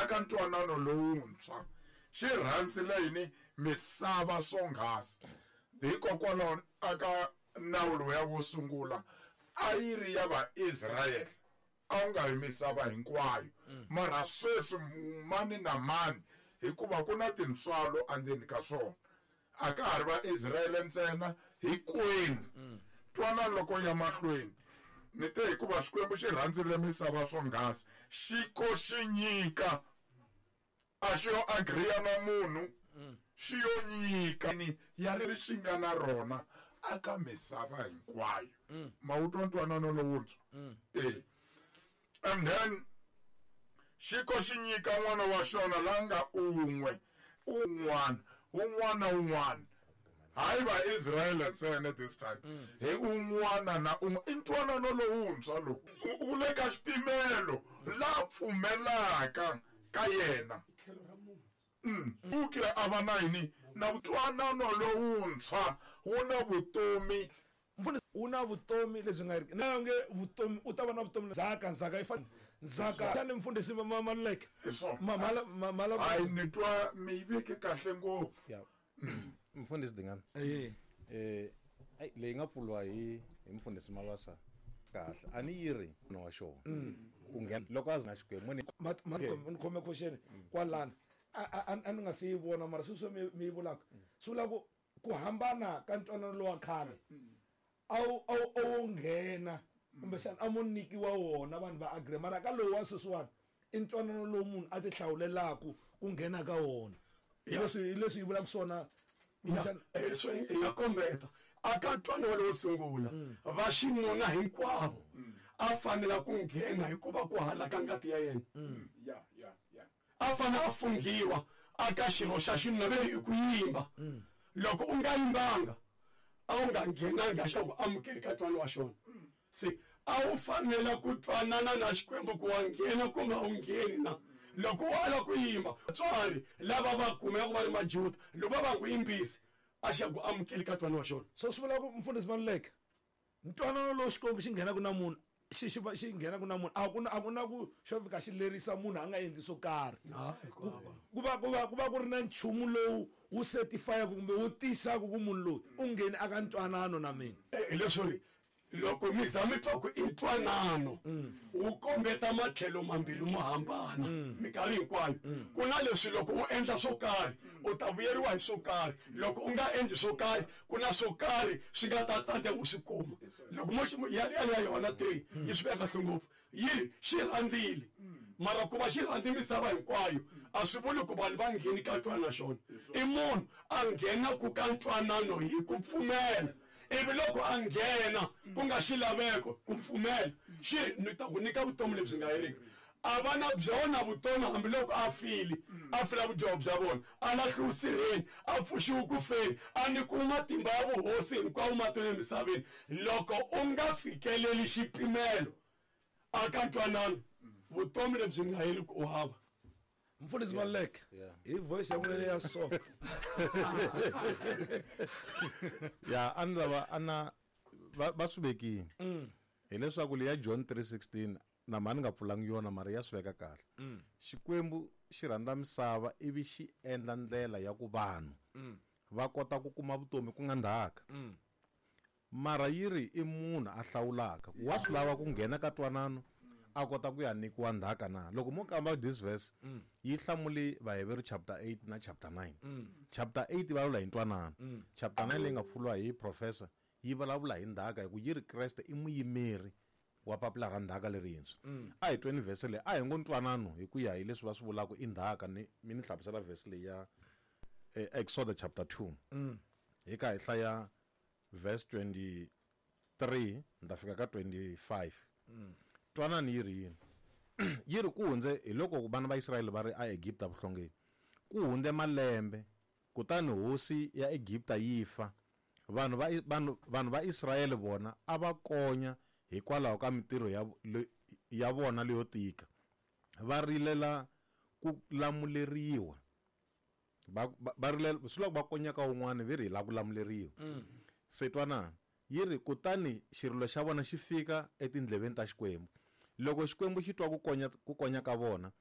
Aka ntwanano lowuntshwa xi rhandzile yini misava swonghasi. Hikokwalaho aka nawu lowuya wo sungula a yi ri ya Vaisrayele, a wu nga ri misava hinkwayo. Mara sweswi mani na mani, hikuva ku na tintswalo endzeni ka swona, a ka ha ri Vaisrayele ntsena, hinkwenu. Twanani loko ya mahlweni ni te, hikuva Xikwembu xi rhandzile misava swonghasi, xi ko xi nyika, a xi yo agriya na munhu, xi yo nyika ni ya ri xi nga na rona aka misava hinkwayo. Ma wu twa ntwanano lowuntshwa? E and then xi ko xi nyika n'wana wa xona la nga un'we, un'wana un'wana na un'wana, hayi Vaisrayele ntsena this time, hi un'wana na un'wana. I ntwanano lowuntshwa lowu wu le ka xipimelo la pfumelaka ka yena u ke a va na yini na ntwanano lowuntshwa wu na vutomi. Mfundhisi, wu na vutomi lebyi nga heriki, na nge vutomi u ta va na vutomi. Ndzhaka, ndzhaka yi fana ndzhaka tani mfundhisi Maluleke. Hi swona. Mala. Hayi, ni twa mi yi veke kahle ngopfu. Ya, mfundhisi Dingani. Eh. Ai, leyi nga pfuriwa hi mfundhisi Mabasa kahle, a ni yi ri no wa xona ku nghena loko a na Xikwembu ni Ni khome question kwalano, a ni nga se yi vona, mara sweswi mi yi vulaka swi vula ku hambana ka ntwanano lowa khale, a wu nghena kumbexana a mo nyikiwa wona, vanhu va agree, mara ka lowu wa sweswiwani i ntwanano lowu munhu a ti hlawulelaku ku nghena ka wona. Hi leswi yi vulaka swona kumbexana. So hi nga kombeta aka ntwanano lowo sungula, va xinuna hinkwavo a fanela ku nghena hikuva ku halaka ngati ya yena. Ya ya ya A fanele a funghiwa aka xirho xa xinuna, ve i ku yimba. Loko u nga yimbanga, a wu nga nghenanga xa ku amukeli ka ntwanano wa xona. Se a wu fanela ku twanana na Xikwembu ku wa nghena kumbe a wu ngheni na. Loko u ala ku yimba, vatswari lava va kumeka va ri Majuda, loko va va ku yimbisi, a xi ya ku amukeli ka ntwanano wa xona. So swi vula ku, mfundhisi Maluleke, ntwanano lowu Xikwembu xi nghenaka na munhu, xi nghenaka na munhu, a ku na ku xo fika xi lerisa munhu a nga endli swo karhi. Hayi, ku hava. Ku va ku ri na nchumu lowu wu certifyaka kumbe wu tisaka ku munhu loyi u ngheni aka ntwanano na mina. Hi leswo ri loko mi za mi twa ku i ntwanano, wu kombeta matlhelo mambirhi mo hambana. Minkarhi hinkwayo ku na leswi, loko u endla swo karhi u ta vuyeriwa hi swo karhi, loko u nga endli swo karhi ku na swo karhi swi nga ta tsandzeka u swi kuma. Loko mo ya yona 3 yi swi veka kahle ngopfu, yi ri xi rhandzile, mara ku va xi rhandzi misava hinkwayo a swi vuli ku vanhu va ngheni ka ntwanano na xona. I munhu a nghena ku ka ntwanano hi ku pfumela, ivi loko a nghena ku nga xilaveko ku pfumela, xi ri ni ta ku nyika vutomi lebyi nga heriki. A va na byona vutomi hambiloko a file, a fila vudyoho bya vona, a lahliwe sirheni, a pfuxiwe ku feni, a nyikiwe matimba ya vuhosi hinkwawo matilweni emisaveni. Loko u nga fikeleli xipimelo aka ntwanano, vutomi lebyi nga heriki u hava. Mfundhisi Maluleke, hi voice ya n'wina ya soft. Ya, a ni lava ana va swi vekini hileswaku leya John 3:16, na mhani nga pfulangi yona, mara ya swi veka kahle. Xikwembu xi rhandza misava ivi xi endla ndlela ya ku vanhu va kota ku kuma vutomi, ku nga ndzhaka. Mara yi ri i munhu a hlawulaka ku wa swi lava ku nghena ka twanano a kota ku ya nyikiwa ndzhaka na. Loko mo kamba this verse, yi hlamuli Vaheveru chapter 8 na chapter 9. Chapter 8 yi vulavula hi ntwanano, chapter 9 leyi nga pfuriwa hi professor yi vulavula hi ndzhaka, hi ku yi ri Kreste i muyimeri wa papila ra ndzhaka lerintshwa. A hi tweni vhese leyi, a hi ngo ntwanano hi ku ya hi leswi va swi vulaka i ndzhaka. Ni mi ni hlamusela vhese leyi ya Exodus chapter 2, hi ka hi hlaya verse 23 ni ta fika ka 25. Twanani yi ri yini. Yi ri ku hundze, hi loko vana va Israyele va ri aEgipta vuhlongeni, ku hundze malembe, kutani hosi ya Egipta yi fa. Vanhu va Israyele vona a va konya hikwalaho ka mintirho ya vona leyo tika, va rilela ku lamuleriwa. Va rilela swi loko va konyaka wun'wana, ve ri hi lava ku lamuleriwa. Se twanana, yi ri kutani xirilo xa vona xi fika etindleveni ta Xikwembu. Loko Xikwembu xi twa ku konya ka vona.